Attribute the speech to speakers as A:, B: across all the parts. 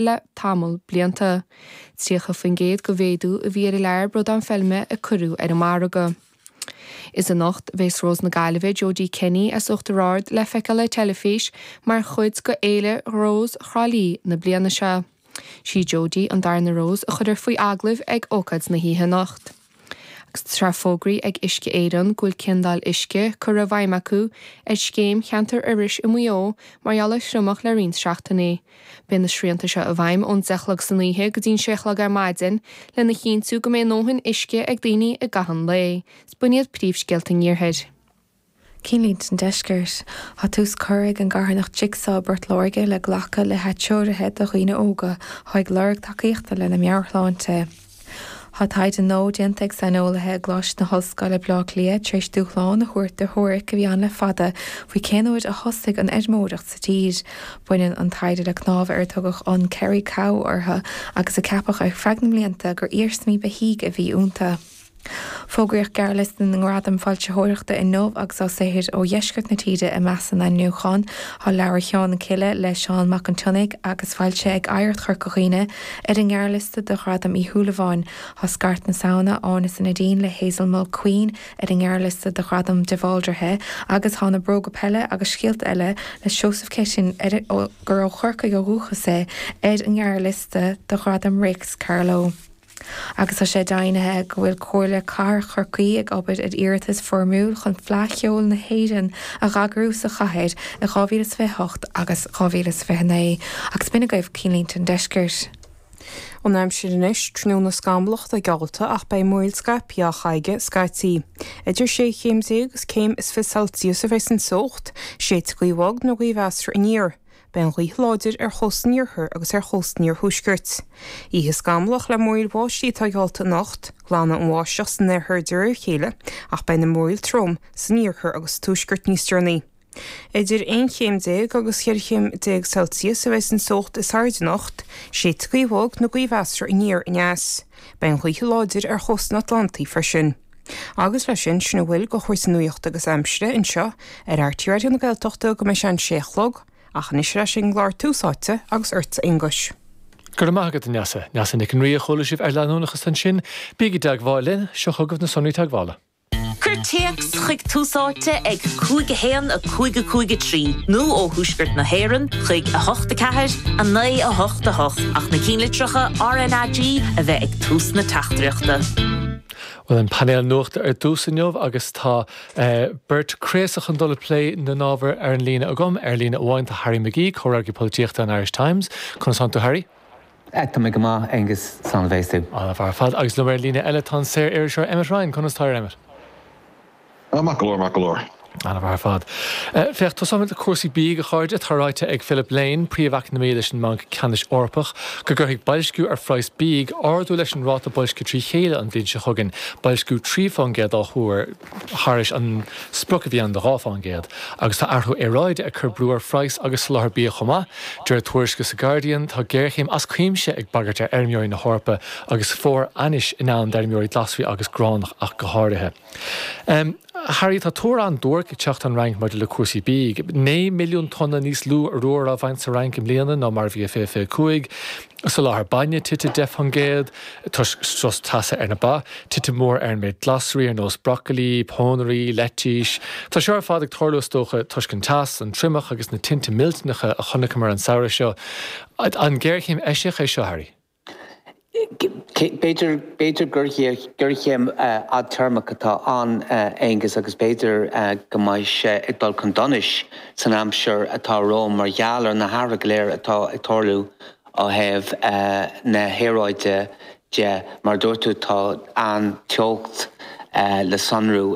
A: Le tamall blianta. 30% de mhéadú a bhí ar an lear bradán feilme a cuireadh ar an margadh. Is anocht a bheas Rós na Gaillimhe, Jodie Kenny as Uachtar Ard le feiceáil ar teilifís mar chuid de Fhéile Rós Thrá Lí na bliana seo. Sí Jodie an darna Rós a chuirfear faoi agallamh ag ócáid na hoíche anocht. Agus tá sé fógraithe ag Uisce Éireann go bhfuil ciondáil uisce curtha i bhfeidhm acu ar Scéim Cheantar Iorrais i Maigh Eo mar gheall ar thriomach le roinnt seachtainí. Beidh na srianta seo i bhfeidhm ón 10 a chlog san oíche go dtí'n 6 a chlog ar maidin lena chinntiú go mbeidh a ndóthain uisce ag daoine i gcaitheamh an lae. Is b'in iad príomhscéalta an Iarthair.
B: Cinnlínte an Deiscirt. Tá tús curtha ag an gcarthanacht Jigsaw i bPort Láirge le glacadh le hatreoruithe do dhaoine óga atá ag lorg tacaíochta lena meabhairshláinte. Tá taighde nua déanta ag saineolaithe i gColáiste na hOllscoile Baile Átha Cliath tar éis dúshlán a thabhairt do theoiric a bhí ann le fada faoi cén uair a thosaigh an fheirmeoireacht sa tír. Baineann an taighde le cnámha ar tugadh an 'Kerry Cow' orthu agus a ceapadh ar feadh na mblianta gur iarsmaí beithígh a bhí iontu. Fógraíodh gearrliosta na nGradam Foilsitheoireachta inniu agus tá saothair ó dheisceart na tíre i measc na n-ainmniúchán. Tá leabhar Sheán na Cille le Seán Mac an tSionnaigh agus foilsithe ag Oidhreacht Chorca Dhuibhne ar an ngearrliosta do Ghradam Uí Shúilleabháin. Tá Scairt na Samhna, Áine is Nadine le Hazel Mulqueen ar an ngearrliosta do Ghradam de Bhaldraithe agus tá Na Bróga Peile agus Scéalta Eile le Seosamh Keating, gur ó Chorcaigh ó dhúchas é, ar an ngearrliosta do Ghradam Réics Carló. Agus tá sé deimhnithe go bhfuil Comhairle Cathrach Chorcaí ag obair ar iarratas foirmiúil chun Fleadh Cheoil na hÉireann a dh'eagrú sa chathair i 2028 agus 2029. Agus b'in agaibh Cinnlínte an Deiscirt.
C: An aimsir anois, tráthnóna scamallach atá geallta ach beidh múraíl scaipthe á chaitheamh scaití. Idir sé chéim déag agus céim is 20 Celsius a bheidh an teocht, séidfidh gaoth bhog nó gaoth mheasartha aniar. Beidh an ghaoth láidir ar chósta an iarthair agus ar chósta an iarthuaiscirt. Oíche scamallach le múraíl bháistí atá geallta anocht. Glanfaidh an bháisteach san oirthear de réir a chéile ach beidh na múraíl trom san iarthar agus sa tuaisceart níos deireanaí. Idir 11 chéim agus 14 chéim Celsius a bheidh an teocht is airde anocht. Séidfidh gaoth bhog nó gaoth mheasartha aniar aneas. Beidh an ghaoth láidir ar chósta an Atlantaigh freisin. Agus leis sin, sin a bhfuil de chúrsaí nuachta agus aimsire anseo ar RTÉ Raidió na Gaeltachta go mbeidh sé an sé a chlog, ach anois ar ais ag an gclár Tús Áite agus ortsa Aonghus.
D: Go raibh maith agat, a Neasa. Neasa Nic an Rí a chuala sibh ar Leanúnachas ansin. Bígí i dteagmháil linn, seo chugaibh na sonraí teagmhála.
E: Cuir téacs chuig Tús Áite ag 5 1 5 5 3 nó ó thuaisceart na hÉireann chuig 8 4 9 8 8 ach na cinnlitreacha RnaG a bheith ag tús na teachtaireachta.
D: Bhuel, an painéal nuachta ar dtús inniu agus tá beirt craosach chun dul ag plé na n-ábhar ar an líne agam. Ar líne amháin tá Harry McGee, comhfhreagraí polaitíochta an Irish Times. Conas tánn tú Harry?
F: Tá mé go maith, Aengus. Slán a bheas tú.
D: An-mhaith ar fad. Agus liom ar líne eile tá an saor-iriseoir Emmet Ryan. Conas tá Emmet?
G: Maith go leor, maith go leor.
D: An-mhaith ar fad. Féach, tosóimid le cúrsaí bídh, a chairde. Tá ráite ag Philip Lane, príomh-eacnamaí leis an mBanc Ceannais Eorpach, go gcuirfidh boilsciú ar phraghas bídh ardú leis an ráta boilscithe trí chéile an bhliain seo chugainn, boilsciú 3 fán gcéad á thuar thairis an sprioc a bhí ann de 2 fán gcéad. Agus tá athrú aeráide ag cur brú ar phraghas agus soláthar bia chomh maith. De réir tuairisce sa Guardian, tá géarchéim as cuimse ag bagairt ar fheirmeoirí na hEorpa agus fómhar ainnis i ndán d'fheirmeoirí glasraí agus gránach ach go háirithe. Harry, tá tuar an-duairc ag teacht ón Fhrainc maidir le cúrsaí bídh. 9 milliún tonna níos lú arúir á bhaint sa Fhrainc i mbliana ná mar a bhí i 2025. Soláthar bainne tite 10% toisc strus teasa ar na ba. Titim mhór ar an méid glasraí ar nós brocailí, pónairí, leitís. Tá seo ar fad ag tarlú is dócha toisc an teas, an triomach agus na tinte millteanacha a chonaiceamar an samhradh seo. An géarchéim eisiach é seo, Harry?
F: B'fhéidir, b'fhéidir gur géarchéim fhadtéarmach atá ann, Aengus, agus b'fhéidir go mbeidh sé ag dul chun donais san aimsir atá romhainn mar gheall ar na hathruithe go léir atá ag tarlú ó thaobh na haeráide de. Mar a dúirt tú, tá an-teocht le sonrú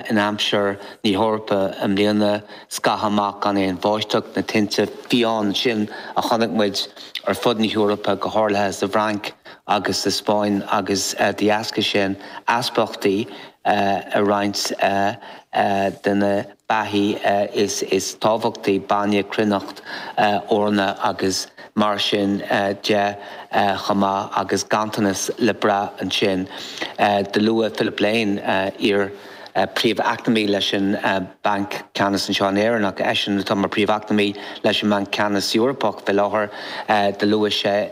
F: in aimsir na hEorpa i mbliana, scaitheamh amach gan aon bháisteach, na tinte fiáin sin a chonaic muid ar fud na hEorpa, go háirithe sa bhFrainc agus sa Spáinn, agus de dheasca sin easpaíochtaí i roinnt de na beathaí is tábhachtaí, bainne, cruithneacht, eorna agus mar sin de chomh maith, agus ganntanas le brath ansin. Do luaigh Philip Lane, iar. Príomh-Eacnamaí leis an Banc Ceannais anseo in Éirinn ach eisean atá mar Príomh-Eacnamaí leis an mBanc Ceannais Eorpach fé láthair, do luaigh sé.